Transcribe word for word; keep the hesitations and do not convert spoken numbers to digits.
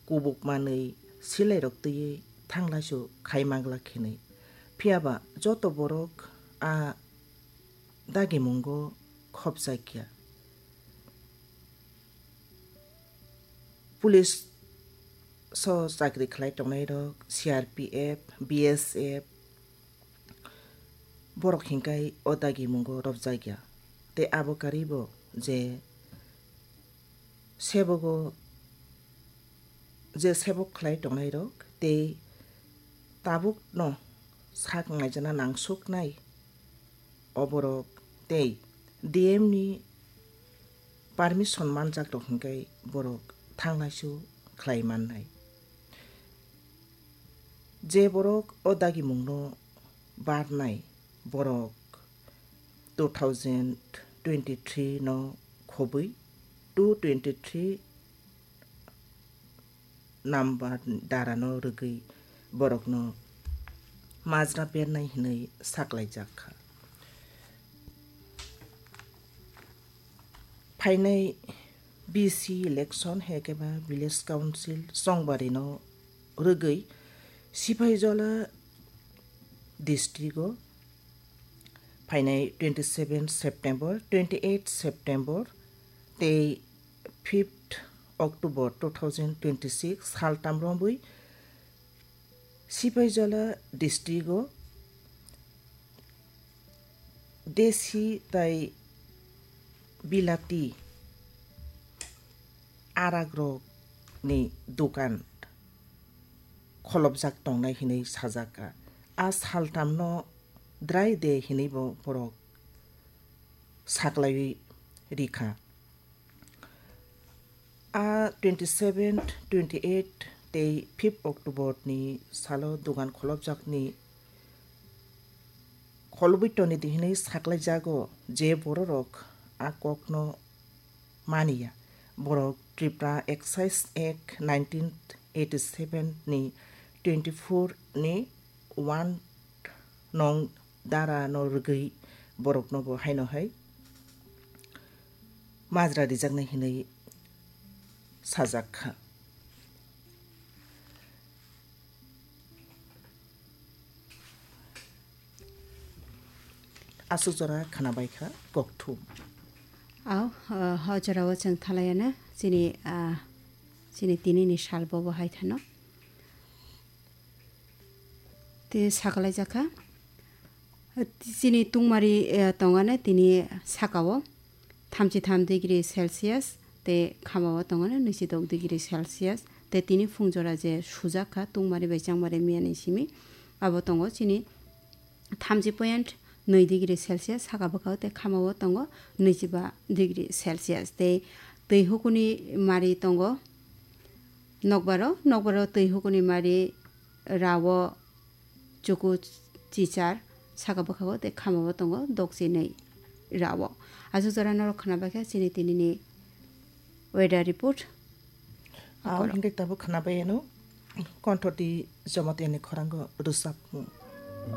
kubuk manwi silairok twiwi thanglaisu khai manglak hinwi. Phiyaba joto borok a dagimungo khopjakya. Police o chakri khlai tongnairok, C R P F, B S F, borok hinkai o dagimungo robjakya. Tei abo karibo je sebogo, je sebok khlai tongnairok tei tabukno sak naijana nangsuknai o borok tei D M ni permission manjak rok hinkai borok thanglaisu khlai mannai. Je borok o dagimungno barnai borok two thousand twenty-three no khobwi two twenty-three number dara no rwgwi borokno majra bernai hinwi saklaijak kha. Phainai B C election hai khe ba Village Council Chongbari no rwgwi Sipaijola district o phainai twenty seven September, twenty eight September tei fifth October two thousand twenty six saltam romwi Sipaijola district o desi tai bilati aragrokni dokan kholopjak tongnai hinwi sajak kha. A saltamno dry day hinwibo borok saklaiwi rikha. A twenty seven, twenty eight tei fifth October ni salo dogan kholopjakni kholobwi toni di hinwi saklaijago je bororok a kokno maniya. Borok Tripura Excise Act nineteen eighty seven ni twenty four ni one nong dara no rwgwi borokno bo haino hai majra rijaknai hinwi sajak kha. Aswk jora khwnabai kha kokthum. Au, ah, ho jorao chwng thalaiana chini, ah, chini tinini sal bobo hai thano. Tei sakalaijak kha. Chini tungmari, eh, tongana tini sakao thamchi tham degree Celsius tei khamao tongana nwichi dok degree Celsius tei tini phungjora je sujak kha tungmari bai changmari miyani simi abo tongo chini thamchi point nwi degree Celsius saka bwkhao tei khamao tongo nwichi ba degree Celsius tei twi hukuni mari tongo nokbaro, nokbaro twi hukuni mari rao chuku chichar saka bwkhao tei khamao tongo dokchinwi rao. Aswk jora norok khwnabaikha chini tinini weather report. Ang hingke tabuk khwnabai ano konthoti Jamatia ni khorango rwchapmung.